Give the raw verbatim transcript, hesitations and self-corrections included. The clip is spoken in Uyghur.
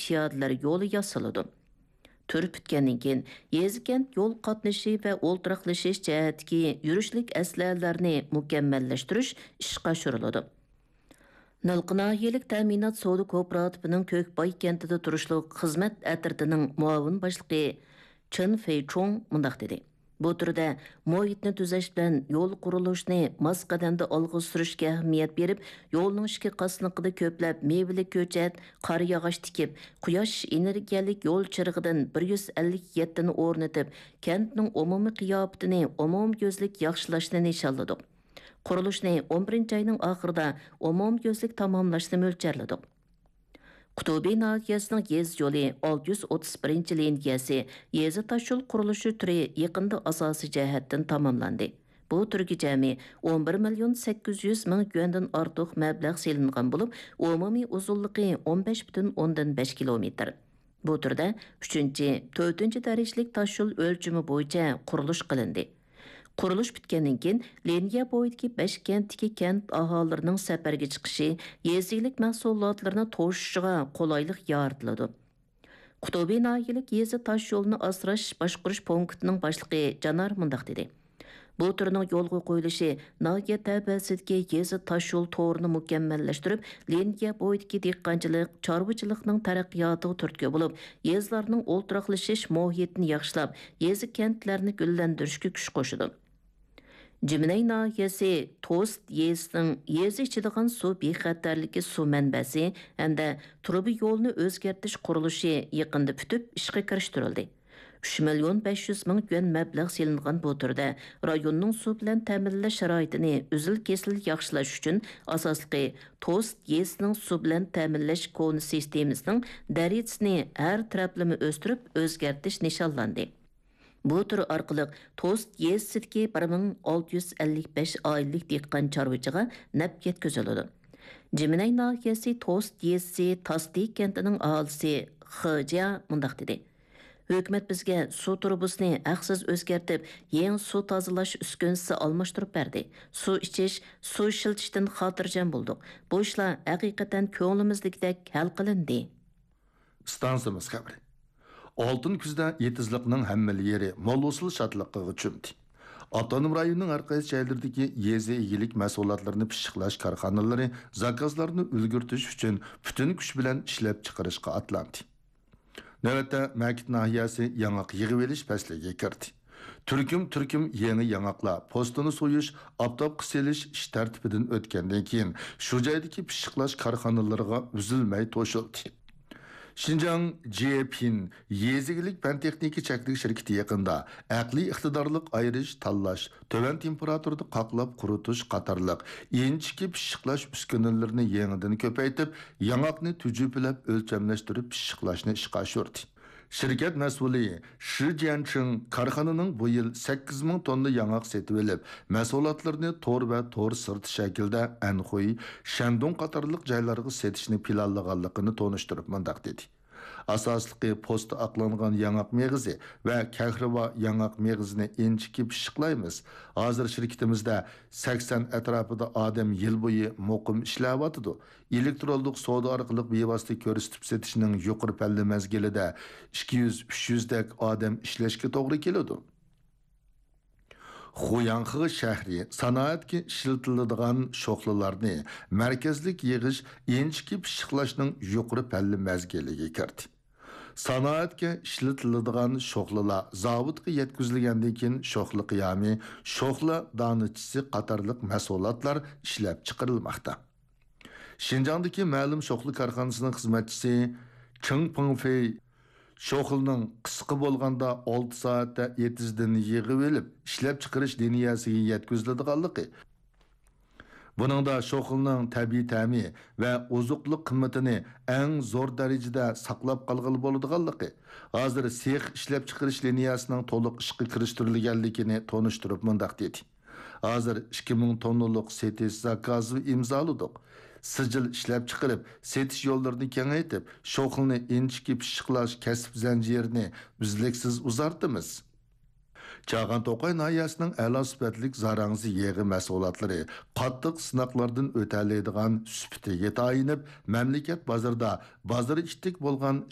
پىيادىلەر يولى ياسىلىدۇ. تۈر پۈتكەندىن كېيىن، يېزا-كەنت يول قاتنىشى ۋە ئولتۇراقلىشىش جەھەتتىكى يۈرۈشلۈك ئەسلىھەلەرنى مۇكەممەللەشتۈرۈش ئىشقا ئاشۇرۇلىدۇ. نىلقا ناھىيەلىك تەمىنات سودا كوپىراتىپىنىڭ كۆكباي كەنتىدە تۇرۇشلۇق خىزمەت ئەترىتىنىڭ مۇئاۋىن باشلىقى چېن فېيچۇڭ مۇنداق دېدى: بۇ تۈردە مۇھىتنى تۈزەش بىلەن يول قۇرۇلۇشىنى ماس قەدەمدە ئالغا سۈرۈشكە ئەھمىيەت بېرىپ، يولنىڭ ئىككى قاسنىقىدا كۆپلەپ مېۋىلىك كۆچەت، قارىياغاچ تىكىپ، قۇياش ئېنېرگىيەلىك يول چىرىغىدىن بىر يۈز ئەللىك يەتتىنى ئورنىتىپ، كەنتنىڭ ئومۇمىي قىياپىتىنى ئومۇميۈزلۈك ياخشىلاشنى نىشانلىدۇق. قۇرۇلۇشنى ئون بىرىنچى ئاينىڭ ئاخىرىدا ئومۇميۈزلۈك تاماملاشنى مۆلچەرلىدۇق. قۇتۇبى ناھىيەسىنىڭ يېزا يولى ئالتە يۈز ئوتتۇز بىرىنچى لىنىيەسى يېزا تاشيول قۇرۇلۇشى تۈرى يېقىندا ئاساسىي جەھەتتىن تاماملاندى. بۇ تۈرگە جەمئىي ئون بىر مىليون سەككىز يۈز مىڭ يۈەندىن ئارتۇق مەبلەغ سېلىنغان بولۇپ، ئومۇمىي ئۇزۇنلۇقى ئون بەش پۈتۈن ئوندىن بەش كىلومېتىر. بۇ تۈردە ئۈچىنچى، تۆتىنچى دەرىجىلىك تاشيول ئۆلچىمى بويىچە قۇرۇلۇش قىلىندى. قۇرۇلۇش پۈتكەندىن كېيىن، لىنىيە بويىدىكى بەش كەنتتىكى كەنت ئاھالىلىرىنىڭ سەپەرگە چىقىشى، يېزا ئىگىلىك مەھسۇلاتلىرىنى توشۇشىغا قولايلىق يارىتىلىدۇ. قۇتۇبى ناھىيەلىك يېزا تاشيولىنى ئاسراش باشقۇرۇش پونكىتىنىڭ باشلىقى جانار مۇنداق دېدى: بۇ تۈرنىڭ يولغا قويۇلۇشى ناھىيە تەۋەسىدىكى يېزا تاشيول تورىنى مۇكەممەللەشتۈرۈپ، لىنىيە بويىدىكى دېھقانچىلىق، چارۋىچىلىقنىڭ تەرەققىياتىغا تۈرتكە بولۇپ، يېزىلارنىڭ ئولتۇراقلىشىش مۇھىتىنى ياخشىلاپ، يېزا-كەنتلەرنى گۈللەندۈرۈشكە كۈچ قوشىدۇ. جىمىنەي ناھىيەسى توست يېزىسىنىڭ يېزا ئىچىدىغان سۇ بىخەتەرلىكى سۇ مەنبەسى ھەمدە تۇرۇبا يولىنى ئۆزگەرتىش قۇرۇلۇشى يېقىندا پۈتۈپ، ئىشقا كىرىشتۈرۈلدى. ئۈچ مىليون بەش يۈز مىڭ يۈەن مەبلەغ سېلىنغان بۇ تۈردە رايوننىڭ سۇ بىلەن تەمىنلەش شارائىتىنى ئۈزۈل-كېسىل ياخشىلاش ئۈچۈن، ئاساسلىقى، توست يېزىسىنىڭ سۇ بىلەن تەمىنلەش كونا سىستېمىسىنىڭ دەرىجىسىنى ھەر تەرەپلىمە ئۆستۈرۈپ ئۆزگەرتىش نىشانلاندى. بۇ تۈر ئارقىلىق توست يېزىسىدىكى بىر مىڭ ئالتە يۈز ئەللىك بەش ئائىلىلىك دېھقان چارۋىچىغا نەپ يەتكۈزۈلىدۇ. جىمىنەي ناھىيەسى توست يېزىسى تاستى كەنتىنىڭ ئاھالىسى خې جيا مۇنداق دېدى: ھۆكۈمەت بىزگە سۇ تۇرۇبىسىنى ھەقسىز ئۆزگەرتىپ، يېڭى سۇ تازىلاش ئۈسكۈنىسى ئالماشتۇرۇپ بەردى. سۇ ئىچىش، سۇ ئىشلىتىشتىن خاتىرجەم بولدۇق. بۇ ئىشلار ھەقىقەتەن كۆڭلىمىزدىكىدەك ھەل قىلىندى. ئىستانسىمىز خەۋىرى. ئالتۇن كۈزدە ئېتىزلىقنىڭ ھەممىلا يېرى مول ھوسۇل شادلىقىغا چۆمدى. ئاپتونوم رايوننىڭ ھەر قايسى جايلىرىدىكى يېزا ئىگىلىك مەھسۇلاتلىرىنى پىششىقلاش كارخانىلىرى زاكازلارنى ئۈلگۈرتۈش ئۈچۈن پۈتۈن كۈچ بىلەن ئىشلەپچىقىرىشقا ئاتلاندى. نۆۋەتتە مەكىت ناھىيەسى ياڭاق يىغىۋېلىش پەسلىگە كىردى. تۈركۈم-تۈركۈم يېڭى ياڭاقلار پوستىنى سويۇش، ئاپتاپقا سېلىش ئىش تەرتىپىدىن ئۆتكەندىن كېيىن، شۇ جايدىكى پىششىقلاش كارخانىلىرىغا ئۈزۈلمەي توشۇلدى. شىنجاڭ جيېپىن يېزا ئىگىلىك پەن-تېخنىكا چەكلىك شىركىتى يېقىندا ئەقلىي ئىقتىدارلىق ئايرىش، تاللاش، تۆۋەن تېمپېراتۇرىدا قاقلاپ قۇرۇتۇش قاتارلىق ئىنچىكە پىششىقلاش ئۈسكۈنىلىرىنى يېڭىدىن كۆپەيتىپ، ياڭاقنى تۈجۈپىلەپ ئۆلچەملەشتۈرۈپ پىششىقلاشنى ئىشقا ئاشۇردى. شىركەت مەسئۇلى شى جيەنچىڭ كارخانىنىڭ بۇ يىل سەككىز مىڭ توننا ياڭاق سېتىۋېلىپ، مەھسۇلاتلىرىنى تور ۋە تور سىرتى شەكلىدە ئەنخۇي، شەندۇڭ قاتارلىق جايلارغا سېتىشنى پىلانلىغانلىقىنى تونۇشتۇرۇپ مۇنداق دېدى: ئاساسلىقى پوستى ئاقلانغان ياڭاق مېغىزى ۋە كەھرىۋا ياڭاق مېغىزىنى ئىنچىكە پىششىقلايمىز. ھازىر شىركىتىمىزدە سەكسەن ئەتراپىدا ئادەم يىل بويى مۇقىم ئىشلەۋاتىدۇ. ئېلېكترونلۇق سودا ئارقىلىق بىۋاسىتە كۆرسىتىپ سېتىشنىڭ يۇقىرى پەللە مەزگىلىدە ئىككى يۈز، ئۈچ يۈزدەك ئادەم ئىشلەشكە توغرا كېلىدۇ. خۇياڭخې شەھىرى سانائەتكە ئىشلىتىلىدىغان شوخلىلارنى مەركەزلىك يىغىش، ئىنچىكە پىششىقلاشنىڭ يۇقىرى پەللە مەزگىلىگە كىردى. سانائەتكە ئىشلىتىلىدىغان شوخلىلار زاۋۇتقا يەتكۈزۈلگەندىن كېيىن، شوخلا قىيامى، شوخلا دانىچىسى قاتارلىق مەھسۇلاتلار ئىشلەپچىقىرىلماقتا. شىنجاڭدىكى مەلۇم شوخلا كارخانىسىنىڭ خىزمەتچىسى چېڭ پېڭفېي شوخلىنىڭ قىسقا بولغاندا ئالتە سائەتتە ئېتىزدىن يىغىۋېلىپ، ئىشلەپچىقىرىش لىنىيەسىگە يەتكۈزۈلىدىغانلىقى، بۇنىڭدا شوخلىنىڭ تەبىئىي تەمى ۋە ئوزۇقلۇق قىممىتىنى ئەڭ زور دەرىجىدە ساقلاپ قالغىلى بولىدىغانلىقى، ھازىر سېخ ئىشلەپچىقىرىش لىنىيەسىنىڭ تولۇق ئىشقا كىرىشتۈرۈلگەنلىكىنى تونۇشتۇرۇپ مۇنداق دېدى: ھازىر ئىككى مىڭ توننىلىق سېتىش زاكازى ئىمزالىدۇق. سىجىل ئىشلەپچىقىرىپ، سېتىش يوللىرىنى كېڭەيتىپ، شوخلىنى ئىنچىكە پىششىقلاش كەسىپ زەنجىرىنى ئۈزلۈكسىز ئۇزارتىمىز. چاغان توقاي ناھىيەسىنىڭ ئەلا سۈپەتلىك زاراڭزا يېغى مەھسۇلاتلىرى قاتتىق سىناقلاردىن ئۆتەلەيدىغان سۈپىتىگە تايىنىپ، مەملىكەت بازىرىدا بازىرى ئىتتىك بولغان